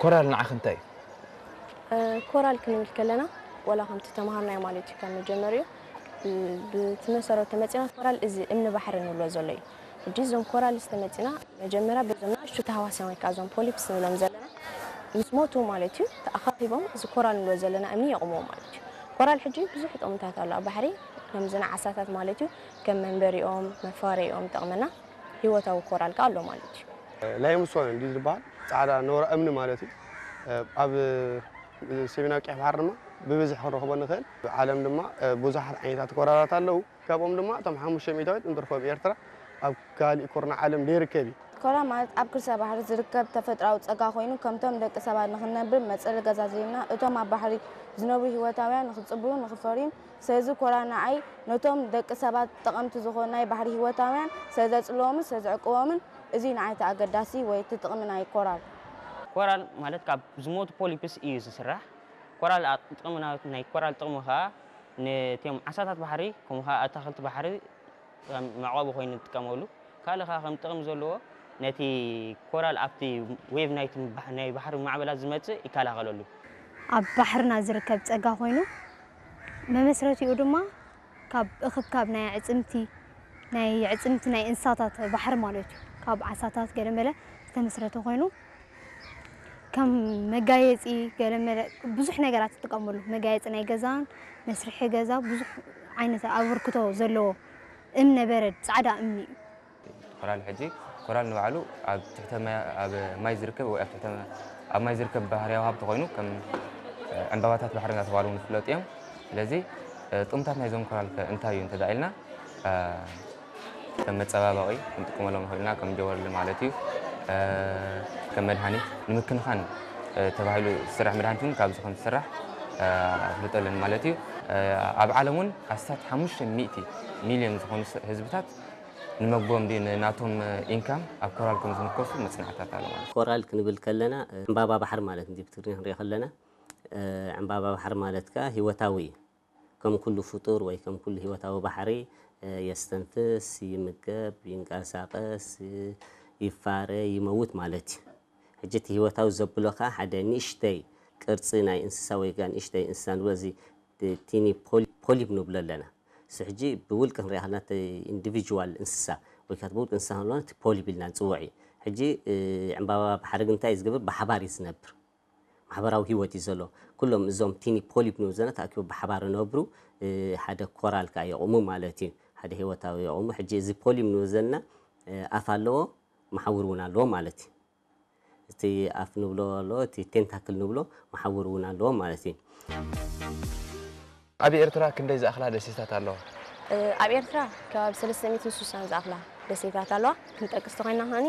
ኮራል ንዓኺ እንታይ እዩ? ኮራል ክንብል ከለና ዋላ ከምቲ ተምሃርናዮ ማለት እዩ ካብ መጀመሪኡ ብቲ መሰረት ተመፂና ኮራል እዚ እምኒ ባሕሪ ንብሎ ዘሎ እዩ። ሕጂ እዞም ኮራል ዝተመፂና መጀመሪያ በዞም ናእሽቱ ተሃዋስያን ወይ ከዓ እዞም ፖሊፕስ ንብሎም ዘለና ምስ ሞቱ ማለት እዩ ተኣኻኺቦም እዚ ኮራል ንብሎ ዘለና እምኒ የቑምዎ ማለት እዩ። ኮራል ሕጂ ብዙሕ ጥቕምታት ኣሎ ኣብ ባሕሪ ከምዚ ንዓሳታት ማለት እዩ ከም መንበሪኦም መፋረይኦም ይጠቕመና። ህይወታዊ ኮራል ከዓ ኣሎ ማለት እዩ። ላይምስቶን እንዲ ዝበሃል ፃዕዳ ኖራ እምኒ ማለት እዩ። ኣብ ሰሜናዊ ቀይሕ ባሕሪ ድማ ብብዝሒ ክንረኽቦ ንኽእል። ዓለም ድማ ብዙሓት ዓይነታት ኮራላት ኣለዉ። ካብኦም ድማ እቶም ሓሙሽተ ሚእታዊት እንትርፎ ኣብ ኤርትራ ኣብ ካሊእ ኩርናዕ ዓለም ዘይርከብ እዩ። ኮራ ማለት ኣብ ክርሰ ባሕሪ ዝርከብ ተፈጥራዊ ፀጋ ኮይኑ ከምቶም ደቂ ሰባት ንክንነብር መፀሊ ገዛ ዘይብና እቶም ኣብ ባሕሪ ዝነብሩ ህይወታውያን ንክፅብሩ ንክፈርዩን ስለዚ ኮራ ንዓይ ነቶም ደቂ ሰባት ጠቐምቲ ዝኾኑ ናይ ባሕሪ ህይወታውያን ስለዘፅልዎምን ስለዘዕቅቦምን እዚ ንዓይ እቲ ኣገዳሲ ወይ እቲ ጥቕሚ ናይ ኮራል። ኮራል ማለት ካብ ዝሞቱ ፖሊፕስ እዩ ዝስራሕ። ኮራል ጥቕሚ ናይ ኮራል ጥቕሚ ከዓ ነቲኦም ዓሳታት ባሕሪ ከምኡ ከዓ ኣታክልቲ ባሕሪ ከም መዕቆቢ ኮይኑ ንጥቀመሉ። ካልእ ከዓ ከም ጥቕሚ ዘለዎ ነቲ ኮራል ኣብቲ ዌቭ ናይቲ ናይ ባሕሪ ማዕበላት ዝመፅእ ይከላኸለሉ። ኣብ ባሕርና ዝርከብ ፀጋ ኮይኑ መመስረቲኡ ድማ ካብ እኽብካብ ናይ ኣዕፅምቲ ናይ ኣዕፅምቲ ናይ እንስሳታት ባሕሪ ማለት እዩ። ካብ ዓሳታት ገለመለ ዝተመስረተ ኮይኑ ከም መጋየፂ ገለመለ ብዙሕ ነገራት ትጥቀመሉ። መጋየፂ ናይ ገዛን መስርሒ ገዛ ብዙሕ ዓይነት ኣበርክቶ ዘለዎ እምነ በረድ ፃዕዳ እምኒ እዩ። ኮራል ሕጂ ኮራል ንባዕሉ ኣብ ትሕተ ማይ- ኣብ ማይ ዝርከብ ወይ ኣብ ትሕተ ኣብ ማይ ዝርከብ ባህርያዊ ሃብቲ ኮይኑ ከም ዕምባባታት ባሕሪ እናተባህሉ እውን ይፍለጡ እዮም። ስለዚ ጥቕምታት ናይዞም ኮራል ከ እንታይ እዩ እንተዳ ኢልና ከም መፀባበቒ ክንጥቀመሎም ንኽእል ኢና፣ ከም ጀወርሊ ማለት እዩ። ከም መድሃኒት ንምክንኻን ተባሂሉ ዝስራሕ መድሃኒት እውን ካብዚ ከም ዝስራሕ ኣፍልጦ ኣለኒ ማለት እዩ። ኣብ ዓለም እውን ኣስታት ሓሙሽተ ሚእቲ ሚልዮን ዝኾኑ ህዝብታት ንመግቦም ድዩ ንናቶም ኢንካም ኣብ ኮራል ከም ዝምርኮሱ መፅናዕትታት ኣሎ ማለት እዩ። ኮራል ክንብል ከለና ዕምባባ ባሕሪ ማለት እንዲ ብትግርኛ ክንሪኦ ከለና ዕምባባ ባሕሪ ማለት ከዓ ህይወታዊ እዩ። ከም ኩሉ ፍጡር ወይ ከም ኩሉ ህይወታዊ ባሕሪ የስተንፍስ፣ ይምገብ፣ ይንቀሳቐስ፣ ይፋረ፣ ይመውት ማለት እዩ። ሕጂ እቲ ህይወታዊ ዘብሎ ከዓ ሓደ ንእሽተይ ቅርፂ ናይ እንስሳ ወይ ከዓ ንእሽተይ እንስሳ ንብሎ እዚ ቲኒ ፖሊፕ ንብሎ ኣለና። እሱ ሕጂ ብውልቂ ክንሪኣ ከለና እቲ ኢንዲቪጁዋል እንስሳ ወይ ከዓ ብውልቂ እንስሳ ክንብሎ እቲ ፖሊፕ ኢልና ንፅውዕ እዩ። ሕጂ ዕምባባ ባሕሪ ግን እንታይ እዩ ዝገብር? ብሓባር እዩ ዝነብር። ማሕበራዊ ህይወት እዩ ዘሎ። ኩሎም እዞም ቲኒ ፖሊፕ ንብሎ ዘለና ተኣኪቦም ብሓባር ይነብሩ። ሓደ ኮራል ከዓ የቑሙ ማለት እዩ። ሓደ ህይወታዊ የቑሙ። ሕጂ እዚ ፖሊፕ ንብሎ ዘለና ኣፍ ኣለዎ፣ መሓውር እውን ኣለዎ ማለት እዩ። እቲ ኣፍ ንብሎ ኣለዎ፣ እቲ ቴንታክል ንብሎ መሓውር እውን ኣለዎ ማለት እዩ። ኣብ ኤርትራ ክንደይ ዝኣኽላ ደሴታት ኣለዋ? ኣብ ኤርትራ ከባቢ ሰለስተ ሚእትን ስሳን ዝኣኽላ ደሴታት ኣለዋ። ክንጠቅስ ተኾይና ከኒ